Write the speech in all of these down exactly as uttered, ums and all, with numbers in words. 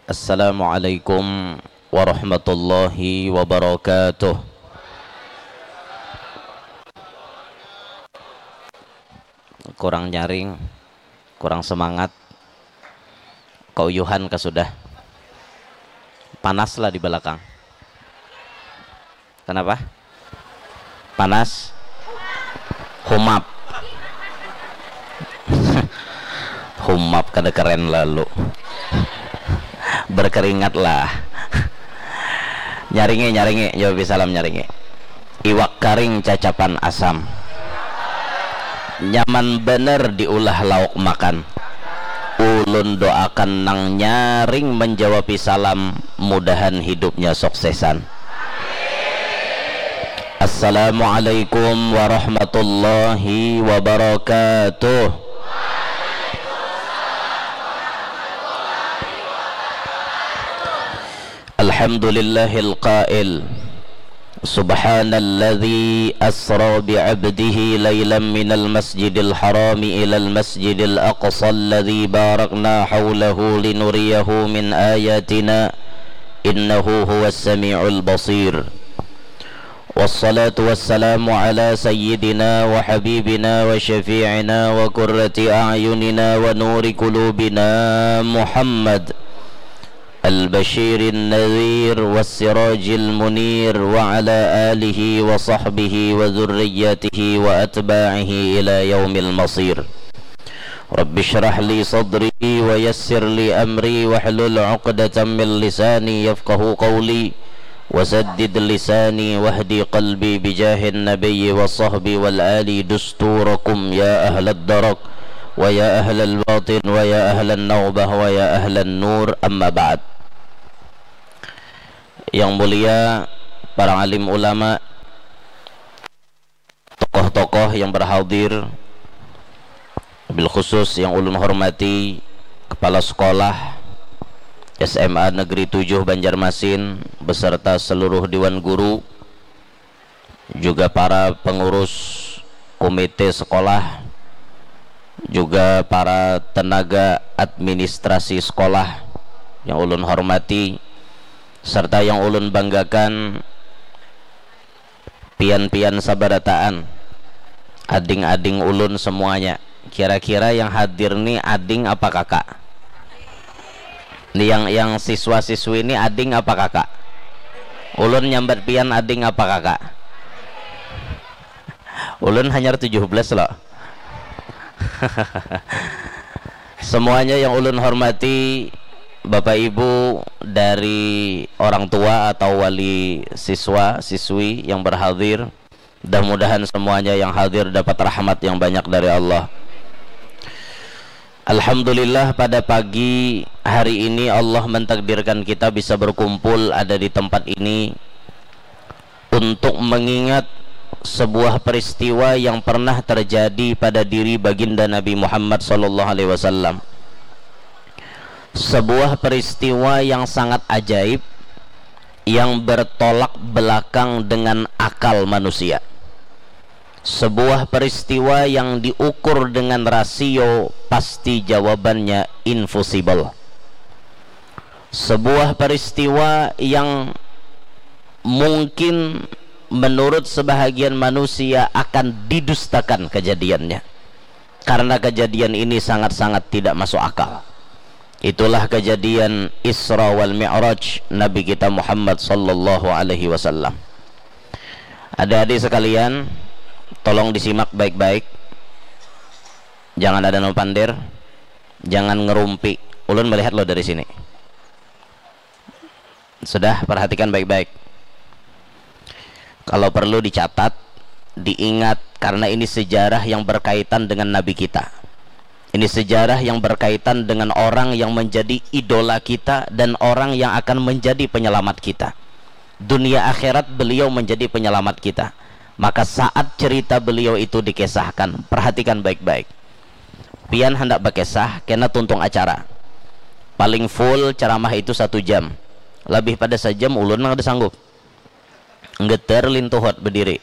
Assalamualaikum warahmatullahi wabarakatuh. Kurang nyaring, kurang semangat, keuyuhan kah sudah? Panas lah di belakang. Kenapa? Panas? Humap. Humap kada keren lalu. Berkeringat lah. Nyaringi, nyaringi, jawab salam nyaringi. Iwak karing cacapan asam. Nyaman bener diulah lauk makan. Ulun doakan nang nyaring menjawabi salam, mudahan hidupnya suksesan. Assalamualaikum warahmatullahi wabarakatuh. Alhamdulillahil qail, subhanalladzi asra bi'abdihi lailam minal masjidil harami ilal masjidil aqsa alladzi barakna haulahu linuriyahu min ayatina, innahu huwas sami'ul basir. Wassalatu wassalamu ala sayyidina wa habibina wa syafi'ina wa qurrati a'yunina wa nuri qulubina Muhammad al-basyirin nadhir was sirajil munir wa ala alihi wa sahbihi wa dzurriyyatihi wa atba'ihi ila yaumil masir. Rabbi shrah li sadri wa yassir li amri wahlul uqdatam min lisani yafqahu qawli. Wasaddid lisani wahdi qalbi bijahin nabiyyi wa sahbi wal ali dusturakum ya ahlad darak wa ya ahlal batin wa ya ahlan naubah wa ya ahlan nur, amma ba'd. Yang mulia para alim ulama, tokoh-tokoh yang berhadir, wabil khusus yang ulun hormati Kepala Sekolah S M A Negeri tujuh Banjarmasin beserta seluruh Dewan Guru, juga para pengurus komite sekolah, juga para tenaga administrasi sekolah yang ulun hormati, serta yang ulun banggakan, pian-pian sabarataan, ading-ading ulun semuanya. Kira-kira yang hadir ni ading apa kakak? Ni yang, yang siswa-siswi ni ading apa kakak? Ulun nyambat pian ading apa kakak? Ulun hanyar tujuh belas lo. Semuanya yang ulun hormati, Bapak Ibu dari orang tua atau wali siswa, siswi yang berhadir, mudah-mudahan semuanya yang hadir dapat rahmat yang banyak dari Allah. Alhamdulillah, pada pagi hari ini Allah mentakdirkan kita bisa berkumpul ada di tempat ini untuk mengingat sebuah peristiwa yang pernah terjadi pada diri Baginda Nabi Muhammad sallallahu alaihi wasallam. Sebuah peristiwa yang sangat ajaib, yang bertolak belakang dengan akal manusia. Sebuah peristiwa yang diukur dengan rasio pasti jawabannya infusibel. Sebuah peristiwa yang mungkin menurut sebahagian manusia akan didustakan kejadiannya. Karena kejadian ini sangat-sangat tidak masuk akal. Itulah kejadian Isra wal Mi'raj Nabi kita Muhammad sallallahu alaihi wasallam. Adik-adik sekalian, tolong disimak baik-baik. Jangan ada nang pander, jangan ngerumpi. Ulun melihat lo dari sini. Sudah, perhatikan baik-baik. Kalau perlu dicatat, diingat, karena ini sejarah yang berkaitan dengan Nabi kita. Ini sejarah yang berkaitan dengan orang yang menjadi idola kita dan orang yang akan menjadi penyelamat kita. Dunia akhirat beliau menjadi penyelamat kita. Maka saat cerita beliau itu dikisahkan, perhatikan baik-baik. Pian handak bakisah, kena tuntung acara. Paling full ceramah itu satu jam. Lebih pada sajam ulun nang kada sanggup. Nggeter lintuhut bediri.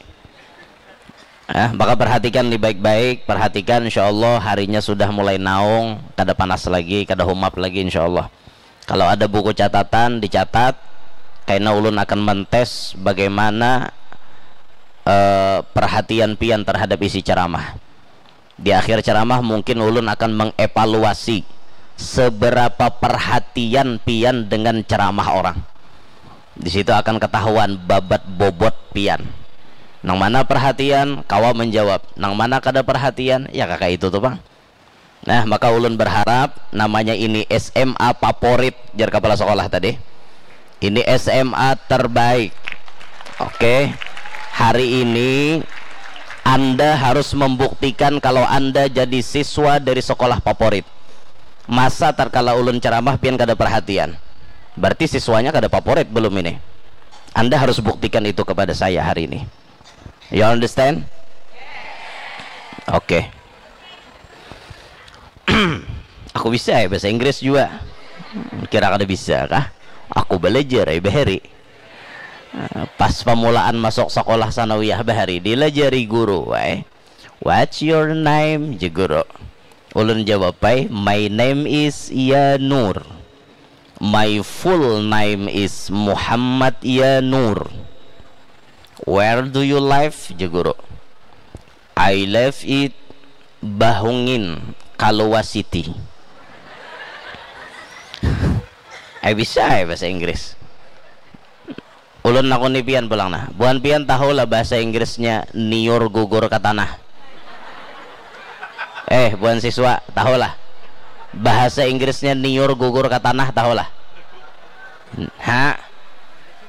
Ah, maka perhatikan ni baik-baik, perhatikan, insya Allah harinya sudah mulai naung, kada panas lagi, kada humap lagi, insya Allah. Kalau ada buku catatan, dicatat, karena ulun akan mentes bagaimana eh, perhatian pian terhadap isi ceramah. Di akhir ceramah mungkin ulun akan mengevaluasi seberapa perhatian pian dengan ceramah orang. Di situ akan ketahuan babat bobot pian. Nang mana perhatian, kawa menjawab. Nang mana kada perhatian, ya kaka itu tuh, Bang. Nah, maka ulun berharap namanya ini S M A favorit, jar kepala sekolah tadi. Ini S M A terbaik. Oke. Hari ini Anda harus membuktikan kalau Anda jadi siswa dari sekolah favorit. Masa tatkala ulun ceramah pian kada perhatian? Berarti siswanya kada favorit belum ini. Anda harus buktikan itu kepada saya hari ini. You understand? Oke. Aku bisa ya bahasa Inggris juga. Kira kada bisa kah? Aku belajar ya bahari. Pas pamulaan masuk sekolah sanawiyah bahari, dilajari guru, wai. "What's your name?" je guru. Ulun jawab ai, "My name is Yanur. My full name is Muhammad Yanur." "Where do you live?" je guru. "I live it Bahungin, Kalua City." Eh, bisa ya bahasa Inggris. Ulun nakuni pian pulang nah. Buhan pian tahu lah bahasa Inggrisnya niur gugur ke tanah? Eh, buhan siswa, tahu lah. Bahasa Inggrisnya niur gugur ke tanah, tahu lah. Ha?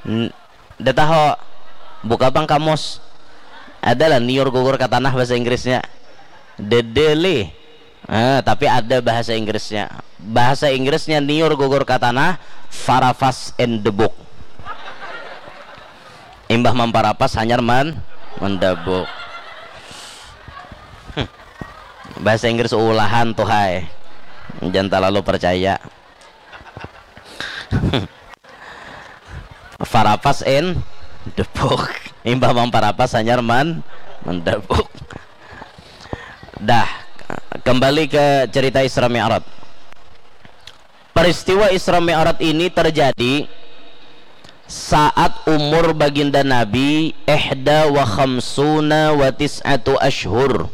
N- Dah tahu? Buka pang kamus. Ada lah niur gugur ke tanah bahasa Inggrisnya. Dedeli. Eh, tapi ada bahasa Inggrisnya. Bahasa Inggrisnya niur gugur ke tanah, farafas in the book. Imbah mamparapas hanyar man mendabuk. Hmm. Bahasa Inggris ulahan tuh hai. Jangan terlalu percaya. Farapas in the book. Imbah mamparapas hanyar man mendabuk. Dah, kembali ke cerita Isra Mi'raj. Peristiwa Isra Mi'raj ini terjadi saat umur baginda Nabi ihda wa khamsuna wa tis'atu ashhur.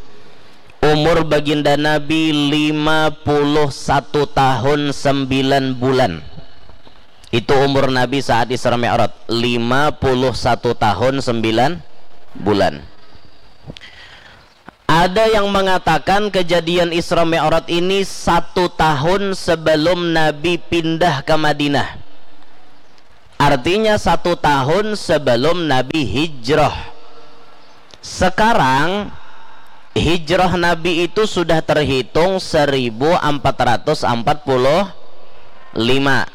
Umur baginda Nabi lima puluh satu tahun sembilan bulan. Itu umur Nabi saat Isra Mi'raj, lima puluh satu tahun sembilan bulan. Ada yang mengatakan kejadian Isra Mi'raj ini satu tahun sebelum Nabi pindah ke Madinah. Artinya satu tahun sebelum Nabi hijrah. Sekarang hijrah Nabi itu sudah terhitung seribu empat ratus empat puluh lima.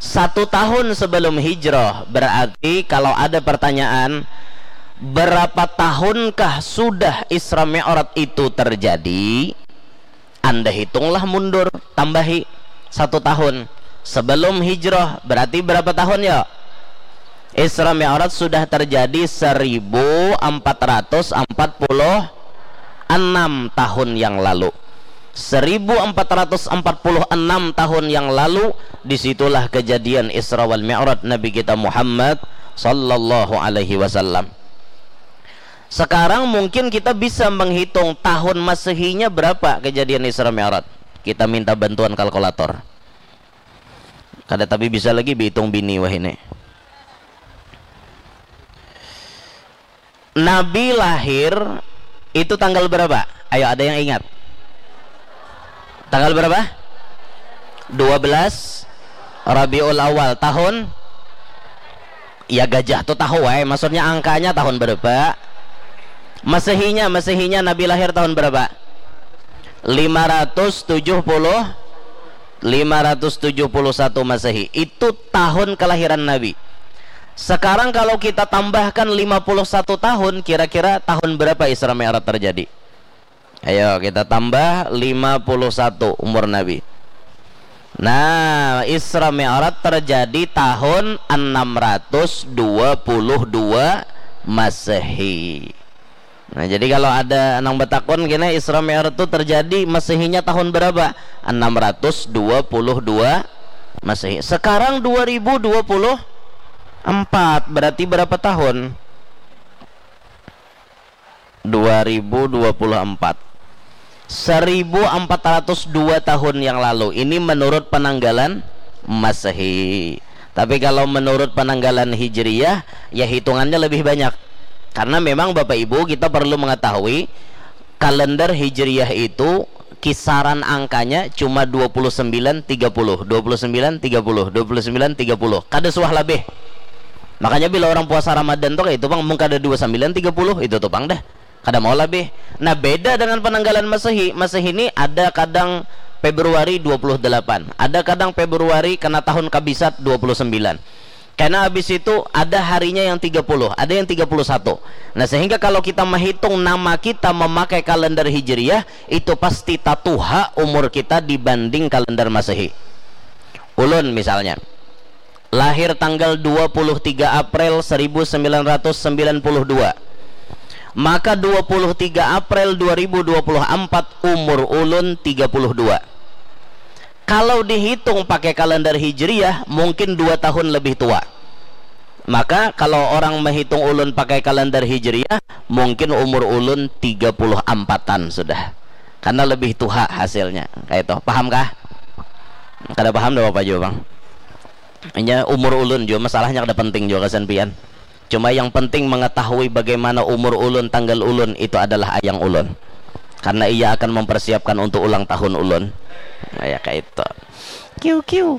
Satu tahun sebelum hijrah, berarti kalau ada pertanyaan, berapa tahunkah sudah Isra Mi'raj itu terjadi? Anda hitunglah mundur, tambahi satu tahun. Sebelum hijrah, berarti berapa tahun ya? Isra Mi'raj sudah terjadi seribu empat ratus empat puluh enam tahun yang lalu. Seribu empat ratus empat puluh enam tahun yang lalu, disitulah kejadian Isra wal Mi'raj Nabi kita Muhammad sallallahu alaihi wasallam. Sekarang mungkin kita bisa menghitung tahun Masehinya berapa kejadian Isra Mi'raj. Kita minta bantuan kalkulator. Kada tapi bisa lagi dihitung bini wahini. Nabi lahir itu tanggal berapa? Ayo, ada yang ingat? Tanggal berapa? Dua belas Rabiul Awal tahun. Ya, gajah tuh tahu wae, maksudnya angkanya tahun berapa? Masehinya, Masehinya Nabi lahir tahun berapa? Lima ratus tujuh puluh, lima ratus tujuh puluh satu Masehi. Itu tahun kelahiran Nabi. Sekarang kalau kita tambahkan lima puluh satu tahun, kira-kira tahun berapa Isra Mi'raj terjadi? Ayo kita tambah lima puluh satu umur Nabi. Nah, Isra Mi'raj terjadi tahun enam ratus dua puluh dua Masehi. Nah, jadi kalau ada nang batakun kena Isra Mi'raj itu terjadi Masehinya tahun berapa? Enam ratus dua puluh dua Masehi. Sekarang dua ribu dua puluh empat, berarti berapa tahun? Dua ribu dua puluh empat. Seribu empat ratus dua tahun yang lalu. Ini menurut penanggalan Masehi. Tapi kalau menurut penanggalan Hijriyah, ya hitungannya lebih banyak. Karena memang Bapak Ibu, kita perlu mengetahui kalender Hijriyah itu kisaran angkanya cuma dua puluh sembilan tiga puluh, dua puluh sembilan tiga puluh, dua puluh sembilan tiga puluh. Kada suah labih. Makanya bila orang puasa Ramadan tuh kayak itu, Bang, mun kada dua sembilan tiga puluh, itu tuh, Bang, dah. Kada mau labih. Nah, beda dengan penanggalan Masehi. Masehi ini ada kadang Februari dua puluh delapan, ada kadang Februari kena tahun kabisat dua puluh sembilan. Karena habis itu ada harinya yang tiga puluh, ada yang tiga puluh satu. Nah, sehingga kalau kita menghitung nama kita memakai kalender Hijriyah, itu pasti tatuha umur kita dibanding kalender Masehi. Ulun misalnya, lahir tanggal dua puluh tiga April seribu sembilan ratus sembilan puluh dua. Maka dua puluh tiga April dua ribu dua puluh empat umur ulun tiga puluh dua. Kalau dihitung pakai kalender Hijriyah, mungkin dua tahun lebih tua. Maka kalau orang menghitung ulun pakai kalender Hijriyah, mungkin umur ulun tiga puluh empatan sudah. Karena lebih tuha hasilnya. Kayak itu. Paham kah? Kada paham, dah apa juga, Bang. Hanya umur ulun juga, masalahnya kada penting juga kesan pian. Cuma yang penting mengetahui bagaimana umur ulun, tanggal ulun, itu adalah ayang ulun. Karena ia akan mempersiapkan untuk ulang tahun ulun. Nah, ya, kayak itu. Kiu, kiu.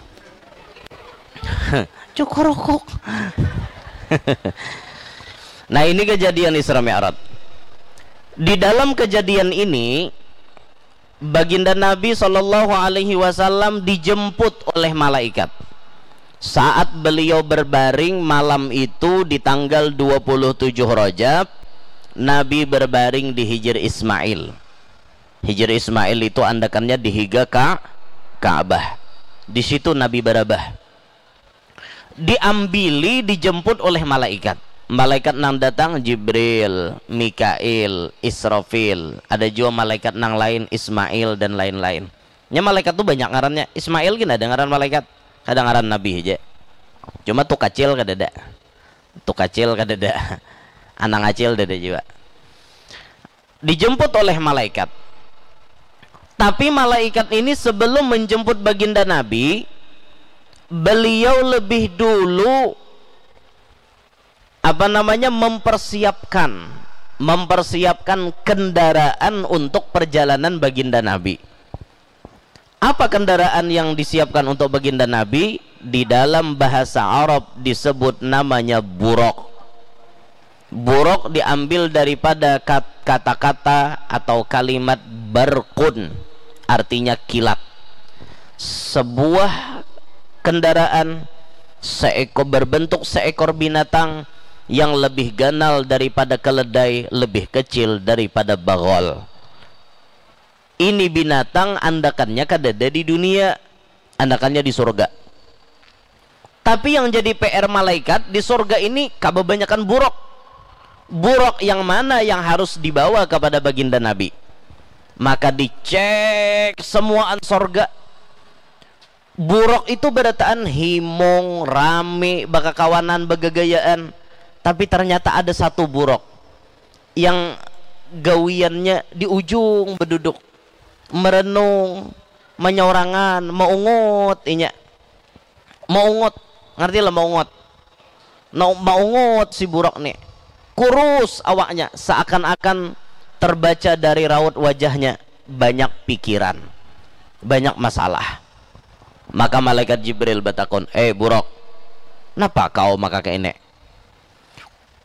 Cukurukuk. Nah, ini kejadian Isra Mi'raj. Di dalam kejadian ini, Baginda Nabi Shallallahu Alaihi Wasallam dijemput oleh malaikat. Saat beliau berbaring malam itu di tanggal dua puluh tujuh Rajab, Nabi berbaring di Hijir Ismail. Hijir Ismail itu andakannya di higa ka Ka'bah. Di situ Nabi barabah. Diambili, dijemput oleh malaikat. Malaikat nang datang Jibril, Mikail, Israfil. Ada jua malaikat nang lain, Ismail dan lain-lain. Nya malaikat tu banyak ngarannya. Ismail gin ada ngaran malaikat. Kada ngaran nabi haja. Cuma tu kacil kadada. Tu kacil kadada. Anang acil dada jua. Dijemput oleh malaikat. Tapi malaikat ini sebelum menjemput baginda Nabi, beliau lebih dulu, apa namanya, mempersiapkan, mempersiapkan kendaraan untuk perjalanan baginda Nabi. Apa kendaraan yang disiapkan untuk baginda Nabi? Di dalam bahasa Arab disebut namanya buraq. Buraq diambil daripada kat-, kata-kata atau kalimat barqun, artinya kilat. Sebuah kendaraan seekor, berbentuk seekor binatang yang lebih ganal daripada keledai, lebih kecil daripada bagol. Ini binatang andakannya kadada di dunia, andakannya di surga. Tapi yang jadi P R malaikat di surga ini kababanyakan buraq. Buraq yang mana yang harus dibawa kepada baginda Nabi? Maka dicek semuaan surga. Buraq itu barataan himung, rame, bakakawanan, bagagayaan. Tapi ternyata ada satu buraq yang gawiannya di ujung beduduk, merenung, manyorangan, maungut inya. Maungut, ngerti lah maungut? Nah, maungut si buraq ni. Kurus awaknya, seakan-akan terbaca dari raut wajahnya banyak pikiran, banyak masalah. Maka malaikat Jibril batakun, "Eh, buraq, napa kau maka kaini?"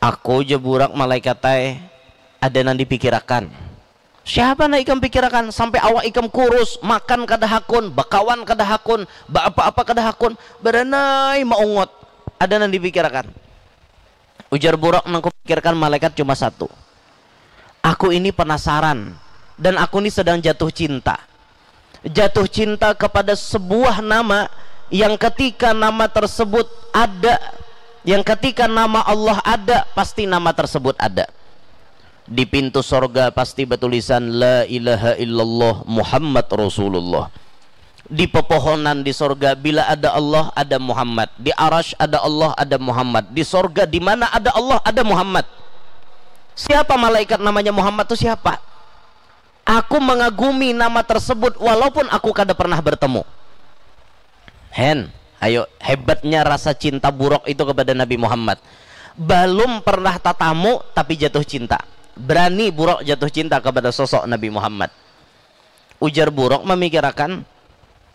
"Aku," jar buraq, "malaikat ai, ada nang dipikirakan." "Siapa nang ikam pikirakan sampai awak ikam kurus, makan kada hakun, bakawan kada hakun, baapa-apa kada hakun, baranai maungut? Ada nang dipikirakan?" Ujar buraq, "Nang kupikirkan malaikat cuma satu. Aku ini penasaran dan aku ini sedang jatuh cinta. Jatuh cinta kepada sebuah nama yang ketika nama tersebut ada, yang ketika nama Allah ada, pasti nama tersebut ada. Di pintu sorga pasti batulisan, 'La ilaha illallah Muhammad Rasulullah.' Di pepohonan di sorga, bila ada Allah, ada Muhammad. Di arash ada Allah, ada Muhammad. Di sorga, di mana ada Allah, ada Muhammad. Siapa malaikat namanya Muhammad tu siapa? Aku mengagumi nama tersebut walaupun aku kada pernah bertemu. Hen, ayo, hebatnya rasa cinta buruk itu kepada Nabi Muhammad. Balum pernah tatamu tapi jatuh cinta. Berani buruk jatuh cinta kepada sosok Nabi Muhammad. Ujar buruk memikirakan,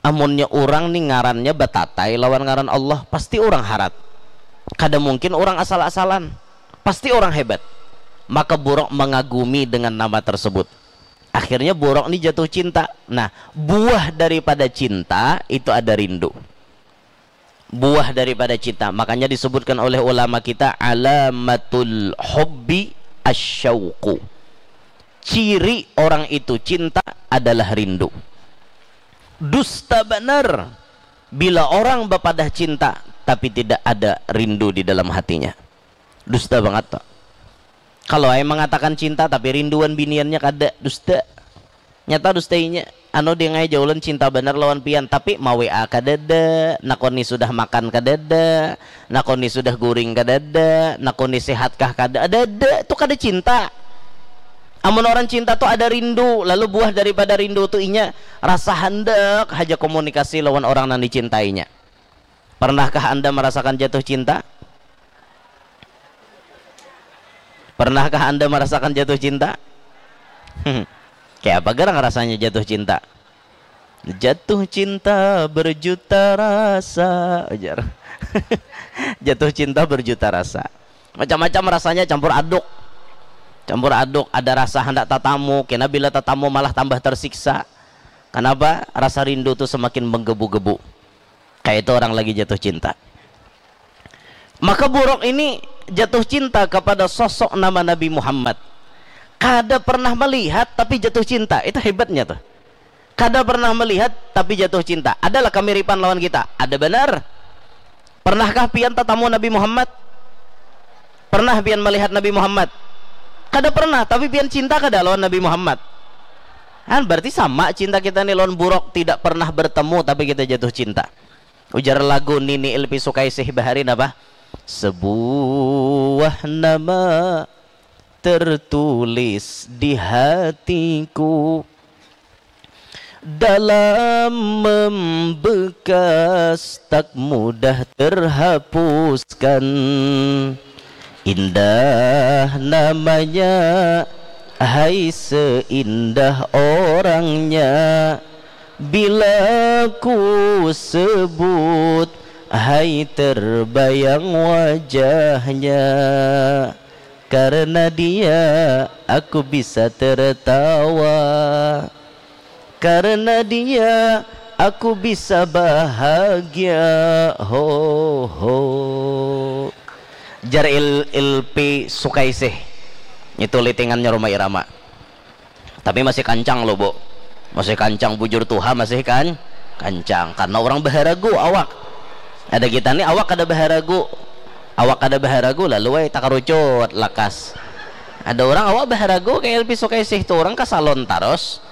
amunnya urang ni ngarannya batatai lawan ngaran Allah, pasti urang harat. Kada mungkin urang asal-asalan. Pasti urang hebat. Maka buruk mengagumi dengan nama tersebut. Akhirnya buruk ni jatuh cinta. Nah, buah daripada cinta itu ada rindu. Buah daripada cinta. Makanya disebutkan oleh ulama kita, alamatul hubbi asyauqu. Ciri orang itu cinta adalah rindu. Dusta benar bila orang bapadah cinta tapi tidak ada rindu di dalam hatinya. Dusta banget tuh. Kalau ai mengatakan cinta tapi rinduan biniannya kada, dusta. Nyata dusta inya. Anu, dia ngai jaulan cinta banar lawan pian, tapi ma-W A kadada, nakoni sudah makan kadada, nakoni sudah guring kadada, nakoni sehatkah kada, ada, ada, itu kada cinta. Amun orang cinta tuh ada rindu, lalu buah daripada rindu tuh inya rasa handak haja komunikasi lawan orang nang dicintainya. Pernahkah Anda merasakan jatuh cinta? Pernahkah Anda merasakan jatuh cinta? Kayak apa garang rasanya jatuh cinta? Jatuh cinta berjuta rasa, ujar. Jatuh cinta berjuta rasa. Macam-macam rasanya, campur aduk. Campur aduk, ada rasa hendak tatamu, kena bila tatamu malah tambah tersiksa. Kenapa? Rasa rindu tuh semakin menggebu-gebu. Kayak itu orang lagi jatuh cinta. Maka buruk ini jatuh cinta kepada sosok nama Nabi Muhammad. Kada pernah melihat tapi jatuh cinta. Itu hebatnya tuh. Kada pernah melihat tapi jatuh cinta. Adalah kemiripan lawan kita. Ada benar. Pernahkah pian tatamu Nabi Muhammad? Pernah pian melihat Nabi Muhammad? Kada pernah, tapi pian cinta kada lawan Nabi Muhammad? Kan berarti sama cinta kita nih lawan buruk, tidak pernah bertemu tapi kita jatuh cinta. Ujar lagu Nini Ilpi Sukaisih bahari napa? Sebuah nama tertulis di hatiku, dalam membekas tak mudah terhapuskan. Indah namanya, hai seindah orangnya. Bila ku sebut, hai terbayang wajahnya. Karena dia aku bisa tertawa. Karena dia aku bisa bahagia. Ho ho. Jar Il, Ilpi Sukaisih. Itu litingannya Rhoma Irama. Tapi masih kancang loh, Bu. Masih kancang, bujur tuha masih kan kancang. Karena orang baharagu awak. Ada kita nih awak kada baharagu. Awak kada baharagu lalu wae takarucut lakas. Ada orang awak baharagu kayak Ilpi Sukaisih tuh, orang ke salon terus.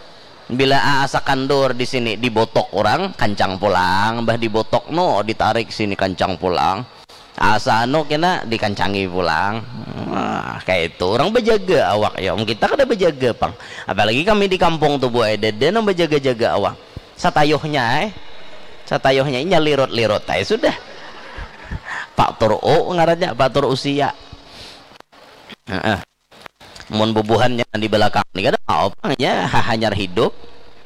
Bila asa kandur di sini dibotok orang, kancang pulang, bah dibotok no, ditarik sini kancang pulang. Asa anu kena dikancangi pulang. Nah, kayak itu orang bejaga awak ya. Om kita kada bejaga pang. Apalagi kami di kampung tuh buai dede nang bejaga-jaga awak. Satayuhnya eh. Satayuhnya inya lirut-lirut aja sudah. Pak Tur U ngarannya, Pak Tur usia. Heeh. Mun bubuhannya di belakang ni kada mau pang, nya ha-, hanyar hidup,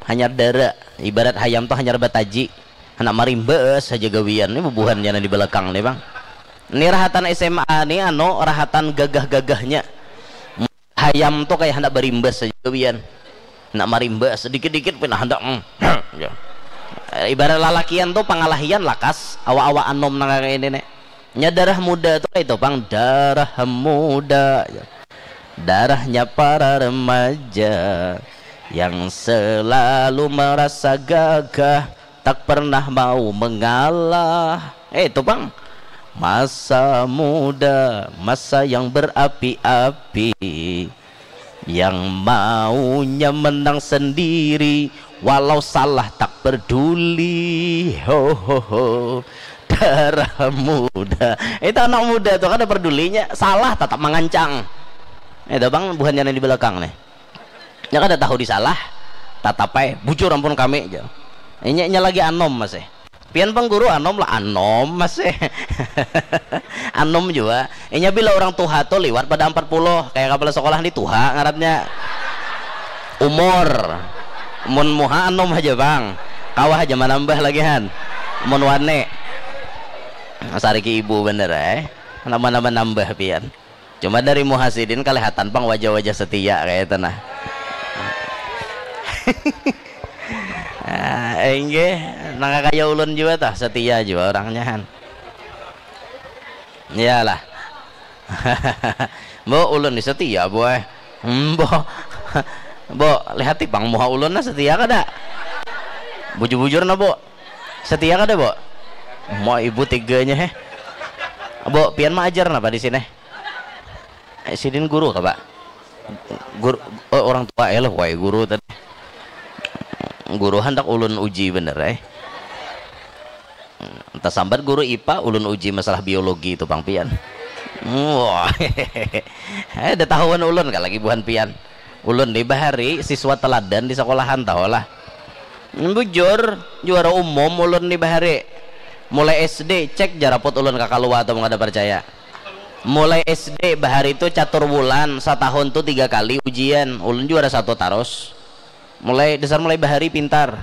hanyar dara. Ibarat hayam tu hanyar bataji. Handak marimbas haja gawian ni bubuhannya nang di balakang ni pang. Ni rahatan S M A ni anu rahatan gagah-gagahnya. Hayam tu kaya handak barimbas haja gawian. Handak marimbas dikit-dikit pina handak, mm, ya. Ibarat lalakian tu pangalahian lakas awak-awak anom nang kaya ini ni. Nya darah muda tu kaya itu pang, darah muda ya. Darahnya para remaja yang selalu merasa gagah, tak pernah mau mengalah. Eh, itu pang. Masa muda, masa yang berapi-api, yang maunya menang sendiri, walau salah tak peduli, ho ho ho, darah muda. Itu anak muda tuh kada pedulinya, salah tetap mangancang. Itu bang buhannya di belakang nih. Nya kada tahu disalah, tatap ai, bujur ampun kami jar. Inya, inya lagi anom masih. Pian pang guru anom lah, anom masih. Anom jua. Inya bila urang tuha tu liwat pada ampat puluh, kaya kapala sakolah ni tuha ngarannya. Umur. Mun muha anom haja pang. Kawa haja manambah lagi han. Mun wani. Sariki ibu banar ai. Nambah-nambah nambah pian. Cuma dari muha sidin kalihatan pang wajah-wajah setia kaya itu nah. Ah, inggih, nang kaya ulun jua tah, setia jua orangnya han. Iyalah. Mbok, ulun ni setia, boy. Hmm, mbok. Mbok, lihati pang muha ulun nah, setia kada? Bujur-bujur nah, Mbok. Setia kada, Mbok? Mau ibu tiganya heh. Mbok, pian maajar napa di sini? Eh, sidin guru kah, Pak? Guru, oh, orang tua eh lah, wai guru tadi. Guru handak ulun uji bener eh. Tasambat guru ipa, ulun uji masalah biologi tu pang pian. Wah. Eh, dah tahuan ulun kah lagi buhan pian. Ulun ni bahari siswa teladan di sekolahan tahu lah. Bujur, juara umum ulun ni bahari. Mulai S D, cek jaraput ulun ka kalua tu mun kada percaya. Mulai S D bahari tu catur bulan, satahun tu tiga kali ujian. Ulun juara satu tarus. Mulai dasar mulai bahari pintar.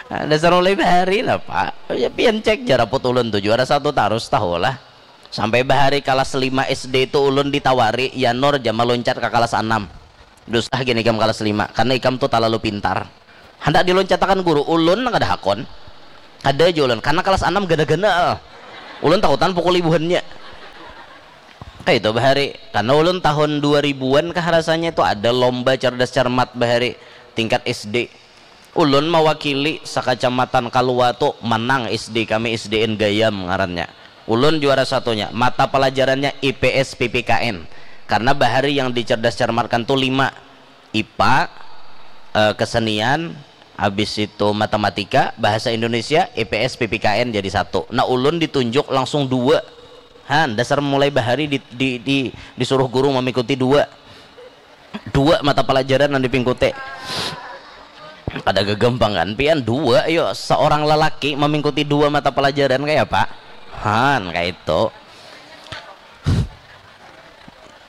Dasar mulai bahari napa? Ya pian cek jaraput ulun tu juara satu tarus tahu lah. Sampai bahari kalas lima S D tu ulun ditawari, "Ya Nur, jama loncat ka kalas anam." Dusah gin ikam kalas lima, karena ikam tu talalu pintar. Handak diloncatakan guru, ulun nang kada hakon. Kada ja ulun, karena kalas anam gana-gana. Ulun takutan pukul ibuhannya. Kaitu bahari, karena ulun tahun dua ribuan kah rasanya itu ada lomba cerdas cermat bahari tingkat S D. Ulun mawakili sakacamatan Kalua tu manang S D kami, S D N Gayam ngarannya. Ulun juara satunya, mata pelajarannya I P S P P K N. Karena bahari yang dicerdas cermatkan tu lima, I P A, eh, kesenian, habis itu matematika, bahasa Indonesia, I P S P P K N jadi satu. Nah, ulun ditunjuk langsung dua. Han, dasar mulai bahari di, di, di, disuruh guru mengikuti dua. Dua mata pelajaran nang dipingkuti. Kada gagampangan pian dua, yo, seorang lelaki memingkuti dua mata pelajaran kaya apa? Han, kaitu.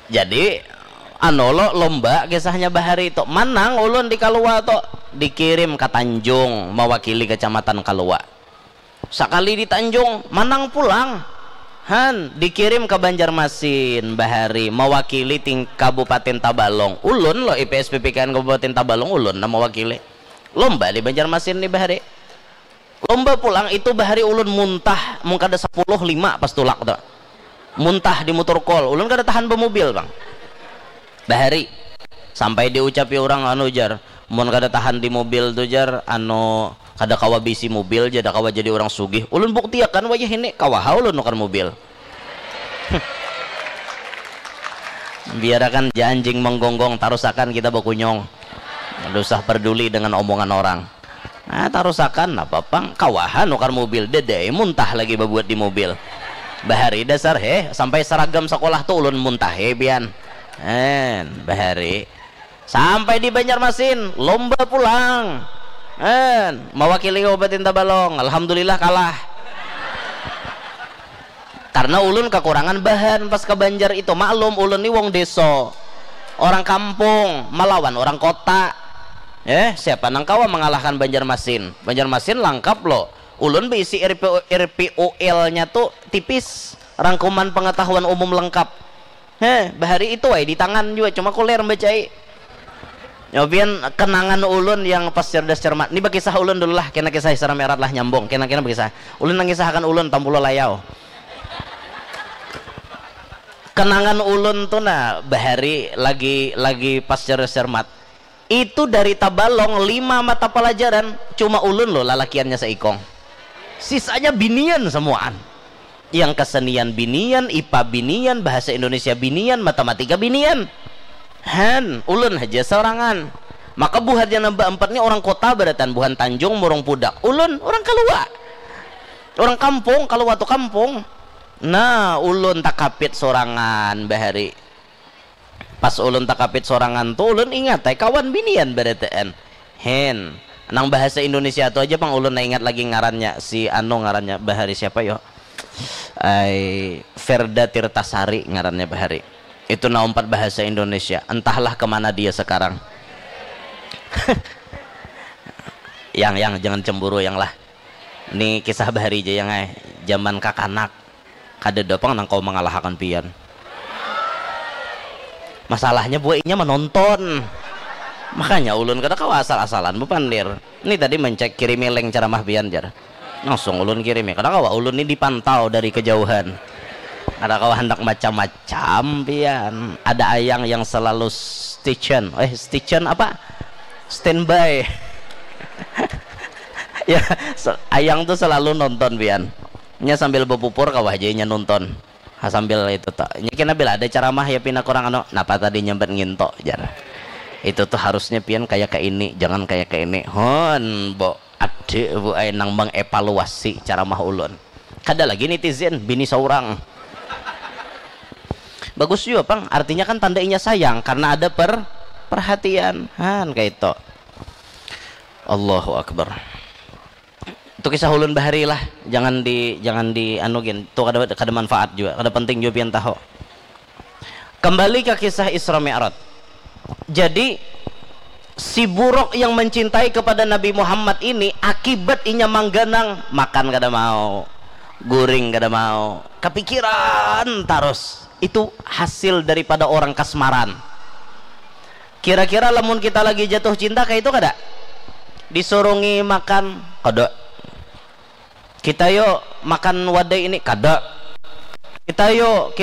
Jadi anu lo, lomba kisahnya bahari tu, manang ulun di Kalua tu, dikirim ka Tanjung mewakili kecamatan Kalua. Sakali di Tanjung, manang pulang. Han, dikirim ka Banjarmasin bahari mawakili ting Kabupaten Tabalong. Ulun lo I P S P P K N Kabupaten Tabalong, ulun nang mawakili. Lomba di Banjarmasin ni bahari. Lomba pulang itu bahari ulun muntah mun kada sapuluh lima pas tulak tu. Muntah di mutur kol, ulun kada tahan bamobil pang. Bahari sampai diucapi urang anu jar, mun kada tahan di mobil tu jar, anu kada kawa bisi mobil, kada kawa jadi urang sugih. Ulun buktiakan wayah ini, kawa ha ulun nukar mobil. Biarakan ja anjing menggonggong, tarusakan kita bakunyung. Kada usah perduli dengan omongan orang. Ah, tarusakan, napa pang, kawaha nukar mobil, dadai muntah lagi babuat di mobil. Bahari dasar heh, sampai seragam sekolah tu ulun muntah heh pian. En, bahari. Sampai di Banjarmasin, lomba pulang. En, mewakili Kabupaten Tabalong, alhamdulillah kalah. Karena ulun kekurangan bahan pas ke Banjar itu. Maklum, ulun ni wong deso, orang kampung, melawan orang kota. Eh, siapa nang kawa mengalahkan Banjarmasin? Banjarmasin langkap lo. Ulun beisi R P O, R P O L-nya tu tipis. Rangkuman pengetahuan umum lengkap. Heh, bahari itu ai di tangan jua, cuma kuler membacai. Nyobian kenangan ulun yang pas cerdas cermat. Ni bakisah ulun dulu lah, kena kisah seram erat lah nyambung. Kena-kena bakisah. Ulun nangisahakan ulun tampulu layau. Kenangan ulun tu nah, bahari lagi lagi pas cerdas cermat. Itu dari Tabalong lima mata pelajaran, cuma ulun lo lalakiannya seikong. Sisanya binian semuaan. Yang kesenian binian, I P A binian, bahasa Indonesia binian, matematika binian. Han, ulun haja sorangan. Maka buhan yang nambah empat ni orang kota barataan, buhan Tanjung, Murung Pudak. Ulun orang Kalua. Orang kampung, Kalua tu kampung. Nah, ulun takapit sorangan bahari. Pas ulun takapit sorangan tu, ulun ingat ai kawan binian barataan. Hen, nang bahasa Indonesia tu aja pang ulun ingat lagi ngarannya, si anu ngarannya bahari siapa yo? Ai, Ferda Tirtasari ngarannya bahari. Itu na umpat bahasa Indonesia. Entahlah kemana dia sekarang. Yang, yang, jangan cemburu yang lah. Ni kisah bahari aja yang ai. Zaman kakanak. Kada ada pang nang kawa mangalahakan pian. Masalahnya buainya menonton. Makanya ulun kada kawa asal-asalan bepandir. Ni tadi mencek kirimi link ceramah pian jar. Langsung ulun kirimi. Kada kawa, ulun ni dipantau dari kejauhan. Kada kawa handak macam-macam pian. Ada ayang yang selalu stay tune. Eh, stay tune apa? Standby. Ya, se- ayang tu selalu nonton pian. Nya sambil bepupur kawa aja inya nonton. Ha, sambil itu tak. Nya kena bila ada ceramah ya pina kurang anu, napa tadi nyambat nginto jar. Itu tuh harusnya pian kayak ke ini, jangan kayak ke ini. Hon, bo, ada bu ai nang mengevaluasi ceramah ulun. Kada lagi netizen, bini seorang. Bagus juga pang, artinya kan tanda inya sayang karena ada per perhatian. Han kayak itu. Allahu Akbar. Itu kisah ulun bahari lah, jangan di jangan di anu gin, itu kada kada manfaat juga, kada penting juga pian tahu. Kembali ke kisah Isra Mi'raj. Jadi si buruk yang mencintai kepada Nabi Muhammad ini akibat inya mangganang, makan kada mau, guring kada mau, kepikiran terus. Itu hasil daripada orang kasmaran. Kira-kira lamun kita lagi jatuh cinta kayak itu kada? Disurungi makan kada. Kita yuk makan wadai ini kada. Kita yuk